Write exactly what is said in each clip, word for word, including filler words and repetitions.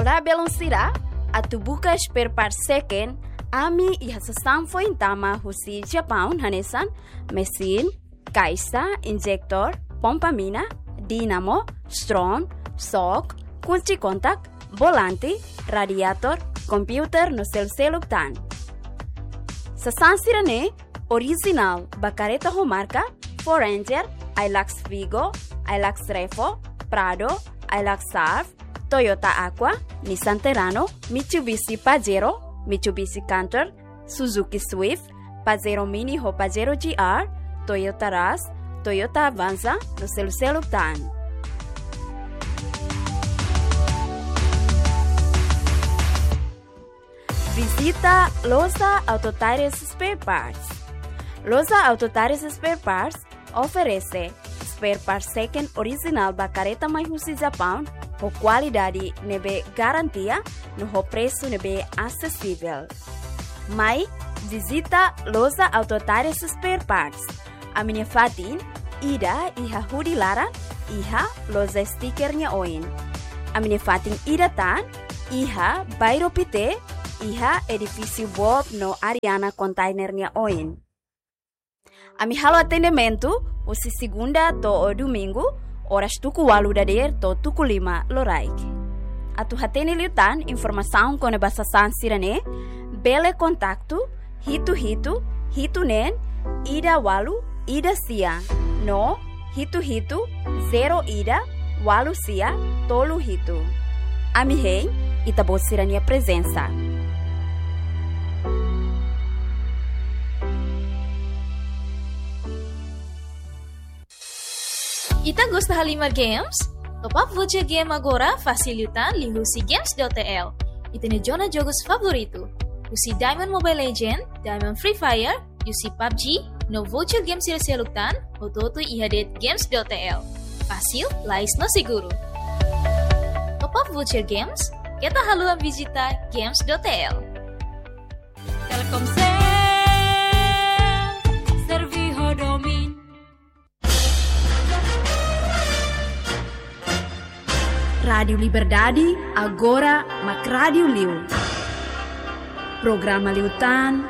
Olá, belun sira, atu buka spare part second, ami iha sasán foin tama husi Japaun hanesan mesin, kaixa, injektór, pompa mina, dínamo, strom, xok, kunci kontak, volante, radiatór, komputadór no selu-seluk tan. Sasán sira-ne'e orijinál ba karreta ho marka Ford Ranger, Hilux Vigo, Hilux Revo, Prado, Hilux Surf, Toyota Aqua, Nissan Terrano, Mitsubishi Pajero, Mitsubishi Canter, Suzuki Swift, Pajero Mini ho Pajero G R, Toyota Rush, Toyota Avanza, no selu-seluk tan. Vizita Loja Auto Tires Spare Parts. Loja Auto Tires Spare Parts oferese spare part second orijinál ba karreta mai husi Japaun, ho kualidade ne'ebé garantia, no ho presu ne'ebé asesivel. Mai vizita Loja Auto Tires Spare Parts. Ami-nia fatin ida iha Hudi Laran, iha loja stiker nia oin. Ami-nia fatin ida tan iha Bairro Pité, iha edifísiu Bob no Ariana Container nia oin. Ami halo atendimentu husi segunda to'o domingu, oras tuku ualu dadeer to'o tuku lima loraik. Atu hatene liután informasaun kona-ba sasán sira-ne'e, bele kontaktu hitu hitu hitu neen ida ualu ida sia no hitu hitu zero ida ualu sia tolu hitu. Ami hein ita-boot sira-nia prezensa. Ita gosta halimar games? Top up voucher game agora fasil liután liuhusi games dot T L. Ita-nia zona jogus favoritu. Husi Diamond Mobile Legend, Diamond Free Fire, U C PUBG, no voucher game sira seluk tan, hotu-hotu iha de'it games dot T L. Fasil, lais no seguru. Top up voucher games, keta haluha vizita games dot T L. Telkomsel, servi ho domin. Rádiu Liberdade, agora mak rádiu liu. Programa liután,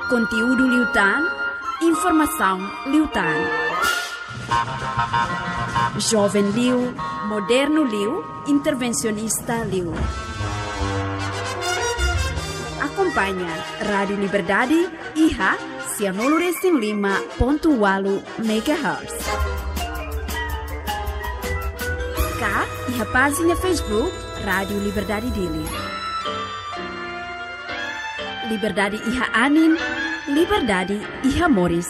konteúdu liután, informasaun liután. Joven liu, modernu liu, intervensionista liu. Akompaña Rádiu Liberdade iha sianulu resin lima pontu ualu megahertz. Ka iha pájina Facebook Rádiu Liberdade Dili. Liberdade iha anin, liberdade iha moris.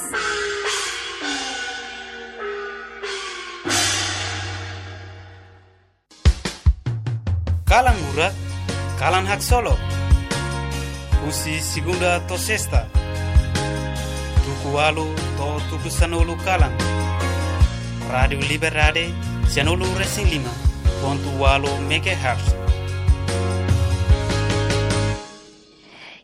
Kalan murak, kalan haksolok. Husi segunda to'o sesta, tuku ualu to'o tuku sanulu kalan. Rádiu Liberdade, sianulu resin lima pontu ualu megahertz.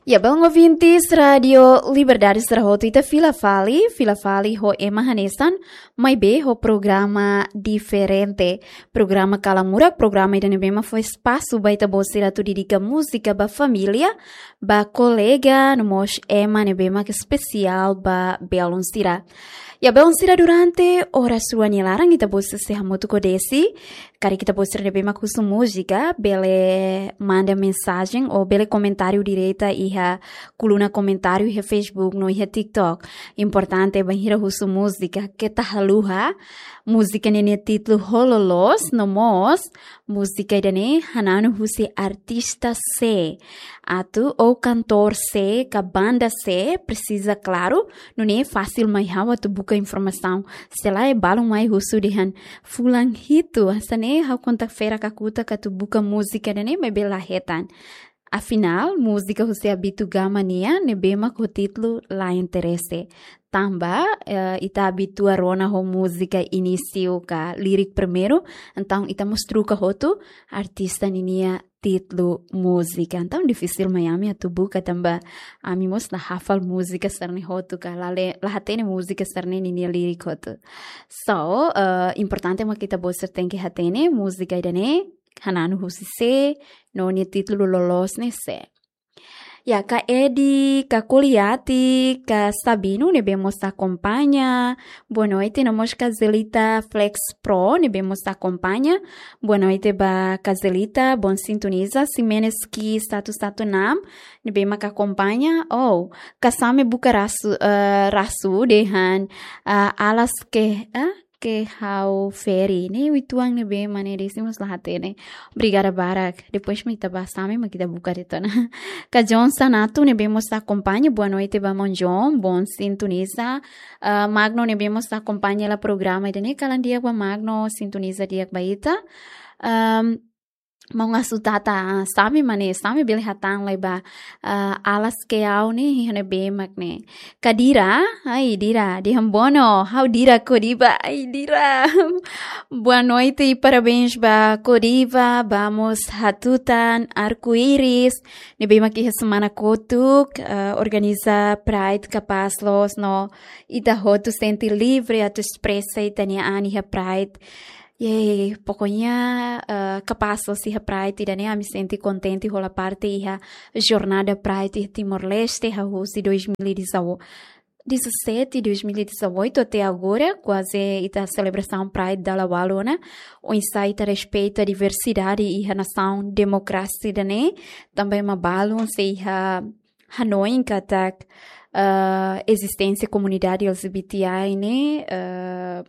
Ya, belun ouvintes Rádiu Liberdade sira hotu, ita fila fali, fila fali ho ema hanesan, maibé ho programa diferente. Programa Kalan Murak, programa ida ne'ebé mak fó espasu ba ita-boot sira atu dedika múzika ba família, ba kolega, no mós ema ne'ebé mak espesiál ba belun sira. Ya, belun sira, durante oras rua nia laran ita-boot sira sei hamutuk ho Desi. Karik ita-boot sira ne'ebé mak husu múzika, bele manda mensajen ou bele komentáriu direta iha koluna komentáriu iha Facebook no iha TikTok. Importante bainhira husu múzika, keta haluha. Múzika ne'e nia títulu ho loloos, no mós múzika ida-ne'e hananu husi artista sé atu ou kantór sé ka banda sé, presiza klaru, nune'e fasil mai ha'u atu buka informasaun. Se lae balun mai husu dehan fulan hitu, hanesan ne'e ha'u kontak ferak kakutak atu buka múzika ida-ne'e maibé la hetan. Afinál, múzika husi Abitu Gama nian ne'ebé mak ho títulu La Interese. Tanba, eh, ita abitua rona ho múzika inísiu ka lirik primeiru, entaun ita mós troka hotu artista ninia títulu múzika. Entaun difisil mai ami atu buka tanba ami mós la hafal múzika sira-ne'e hotu ka la le-, la hatene múzika sira-ne'e ninia lirik hotu. So, eh, importante mak ita-boot sira tenke hatene múzika ida-ne'e, hananu husi sé, no nia títulu loloos ne'e sé. Ya, ka Edi, ka Koliati, ka Sabino, ne'ebé mós akompaña. Boa noite, no mós ka Zelita Flex Pro, ne'ebé mós akompaña. Boa noite ba ka Zelita, bom sintoniza. Ximenes Ki satu satu enam, ne'ebé mak akompaña. Oh, ka Same buka rasu, eh, rasu dehan, ah, alas ke, ah, ke ha'u feri. Ne'e uitoan ne'ebé mak ne'e desimu la hatene. Obrigada barak. Depois mak ita ba Same mak ita buka de'it ona. Ka John Sanato ne'ebé mós akompaña. Boa noite ba maun John. Bom sintoniza. Ah, Magno ne'ebé mós akompaña hela programa ida-ne'e. Kalan di'ak ba Magno, sintoniza di'ak ba ita. Ahm, maun Asutata, ah, Same mak ne'e, Same bele hatán lai ba, ah, alas ke ha'u ne'e, iha ne'ebé mak ne'e. Ka Dira, ai Dira, dehan bono, ha'u Dira Codiva, ai Dira. Boa noite e parabéns ba Codiva, ba mós Hatutan Arco-Íris, ne'ebé mak iha semana kotuk, ah, organiza Pride kapás loos no ita hotu sente livre atu espresa ita-nia an iha Pride. Yeay, pokoknya, eh, kapás loos iha Pride ida-ne'e ami sente kontente hola parte iha jornada Pride iha Timor-Leste, hahú husi dois mil e dezoito, dezassete, dois mil e dezoito até agora, kuaze ita selebrasaun Pride dala ualu ona, oinsá ita respeita diversidade iha nasaun demokrasia ida-ne'e, tanba ema balun sei iha hanoin katak, eh, ezisténsia komunidade L G B T I ne'e, eh,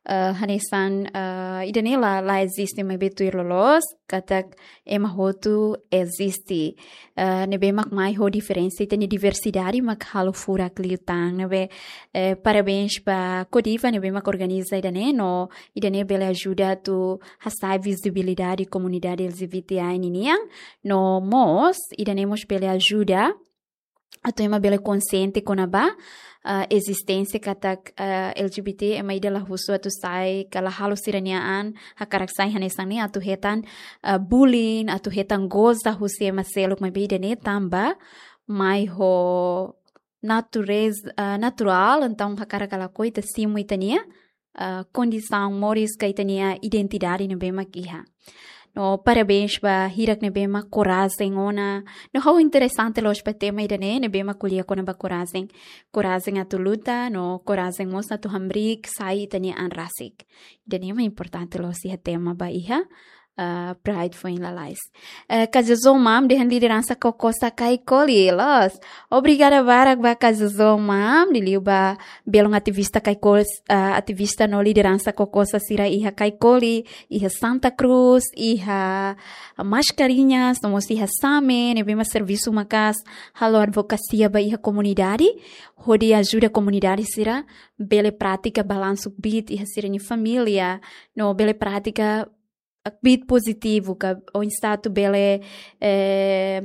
eh, hanesan, eh, ida-ne'e la, la eziste, maibé tuir loloos, katak ema hotu eziste. Eh, ne'ebé mak mai ho diferensa, ita-nia diversidade mak halo furak liután, ne'ebé, eh, parabéns ba Codiva, ne'ebé mak organiza ida-ne'e, no ida-ne'e bele ajuda atu hasa'e vizibilidade komunidade L G B T I ninian, no mós, ida-ne'e mós bele ajuda atu ema bele konsiente kona-ba, ah, ezisténsia katak, ah, L G B T ema ida la husu atu sai, ka la halo sira-nia an hakarak sai hanesan ne'e atu hetan, ah, bullying, atu hetan goza husi ema seluk, maibé ida-ne'e tanba mai ho natureza, ah, naturál, entaun hakarak ka lakohi ita simu ita-nia, ah, kondisaun moris ka ita-nia identidade ne'ebé mak iha. No parabéns ba hirak ne'ebé mak korajen ona. No ha'u interesante loos ba tema ida-ne'e, ne'ebé mak ko'alia kona-ba korajen. Korajen atu luta, no korajen mós atu hamriik sai ita-nia an rasik. Ida-ne'e mak importante loos iha tema ba iha, ah, Pride foin lalais. Eh, ka Jojo Mam dehan lideransa Kokosa Kaikoli, loos. Obrigada barak ba ka Jojo Mam, liuliu ba belun ativista Kaikoli, ah, ativista no lideransa Kokosa sira iha Kaikoli, iha Santa Cruz, iha Mascarenhas, no mós iha Same, ne'ebé mak servisu maka'as halo advokasia ba iha komunidade, hodi ajuda komunidade sira bele pratika balansu kbiit iha sira-nia família, no bele pratika kbiit pozitivu, ka oinsá atu bele, eh,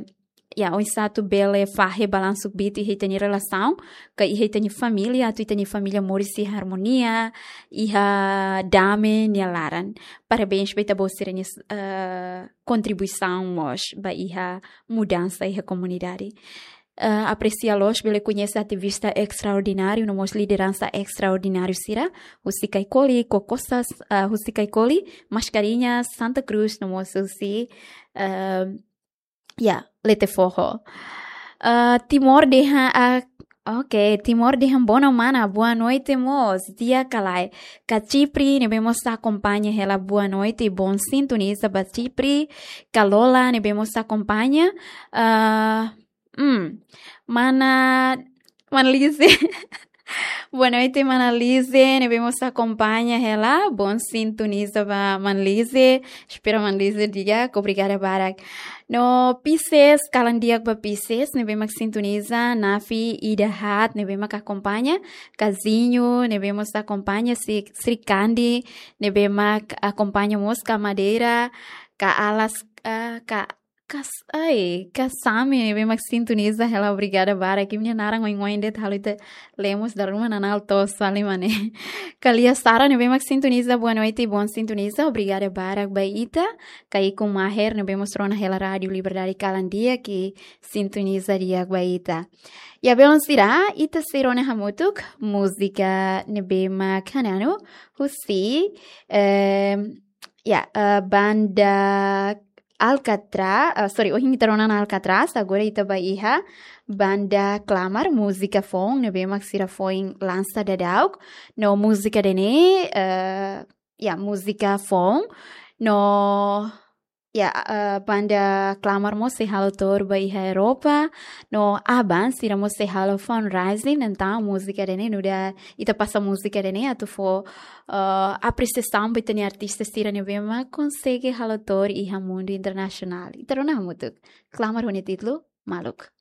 ya, oinsá atu bele fahe balansu kbiit iha ita-nia relasaun, ka iha ita-nia família, atu ita-nia família moris iha armonia, iha dame nia laran. Parabéns ba ita-boot sira-nia, eh, kontribuisaun mós ba iha mudansa iha komunidade. Eh, apresia loos bele koñese ativista estraordináriu, no mós lideransa estraordináriu sira, husi Kaikoli, Kokosas, eh, husi Kaikoli, Mascarenhas, Santa Cruz, no mós husi, eh, ya, Letefoho. Eh, Timor dehan, ah, ok, Timor dehan bono mana, boa noite mós, di'ak ka lae. Ka Chipre, ne'ebé mós akompaña hela boa noite, bom sintoniza ba Chipre. Ka Lola, ne'ebé mós akompaña, ah, hmm, mana, mana Lise. Boa noite, mana Lise, ne'ebé mós akompaña hela, bom sintoniza ba mana Lise. Espera mana Lise di'ak, obrigada barak. No Pisces, kalan di'ak ba Pisces, ne'ebé mak sintoniza, Nafi, Ida Hat, ne'ebé mak akompaña, Kazinho, ne'ebé mós akompaña, Sri, Sri Kandi, ne'ebé mak akompaña mós ka Madeira, ka Alas, ah, ka, kas, ai, ka Same, ne'ebé mak sintoniza hela, obrigada barak, imi-nia naran oin-oin de'it halo ita lemos dala ruma nanál toos fali mak ne'e. Ka Lia Sara, ne'ebé mak sintoniza, boa noite, bom sintoniza, obrigada barak ba ita. Ka Iko Maher, ne'ebé mós rona hela Rádio Liberdade kalan di'ak, sintoniza di'ak ba ita. Ya belun sira, ita sei rona hamutuk múzika ne'ebé mak hananu husi, eh, Ya, eh, banda Alcatraz, eh, sorry, ohin ita rona ona Alcatraz, agora ita ba iha banda Klamar, múzika foun, ne'ebé mak sira foin lansa daudauk, no múzika ida-ne'e, eh, ya, múzika foun, no, ya, eh, banda Klamar mós sei halo tour ba iha Europa, no aban sira mós sei halo fundraising, entaun múzika ida-ne'e nu'udar ita pasa múzika ida-ne'e atu fó, eh, apresiasaun ba ita-nia artista sira ne'ebé mak konsege halo tour iha mundu internasionál. Ita rona hamutuk. Klamar ho nia títulu Maluk.